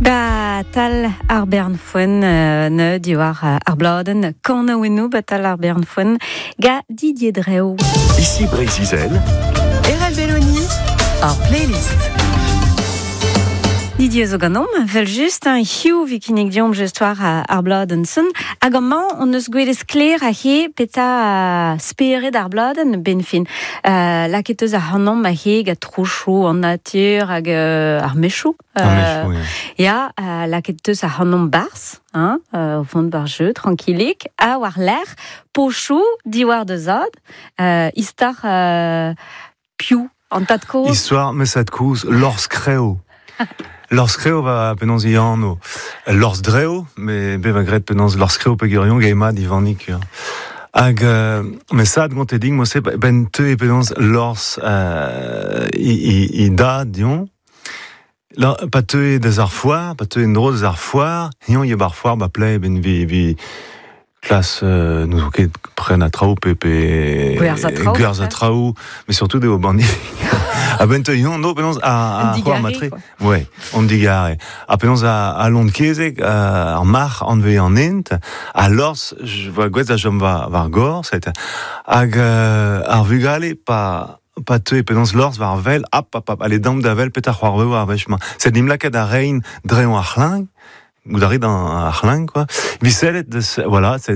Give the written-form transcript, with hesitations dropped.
Ba tal ar bern foen ne diwar ar bladenn kanaouennoù ba tal ar bern foen ga Didier Dreo. Ici Breizh-Izel. Erel Belloni, ar playlist. Didier zo ganeomp, vel just, hein, hiziv 'vi kinnig deomp just war ar bladenn son. Hag amañ on eus gwelet sklaer aze petra spered ar bladenn benn fin. Lakaet eus ac'hanomp aze gant trouchoù an natur hag ar mechoù. Ar mechoù, ya. Ya, lakaet eus ac'hanomp barzh, hein, o vont bar jeu, tranquillik, ha war-lerc'h, pochoù diwar da zad, istor piv, an tad-kozh. Histoire, ma zad-kozh, Lors Kreo. Lors Kreo va penaos e anv. Lors Dreo, me bet va graet penaos Lors Kreo peogwir gae mat Ivanig. Hag ma zad gonte din mod-se ben teue penaos Lors e dad deomp. Pa teue deus ar foar, pa teue en-dro deus ar foar, eñ eo bar foar ba play ben vi vi klas n'ouzon ket prenañ traoù pe pe Gwerzhañ traoù, gwerzhañ traoù, mais surtout eo banni. A-benn teu no penaos a c'hoar matre. Ouais, on digare. Ha penaos a lon kezeg ar marc'h anve an hent, ha Lors va gwez da chom war gor, hag ar vugale pa pa teue penaos Lors war wel, hop, hop, hop, allez damp da wel petra c'hoarveo ar wech-mañ. Sed nim lakaet da reiñ dreñv ar c'hleñv, goût a rit ar c'hleñv, quoi. Visellet deus, voilà, c'est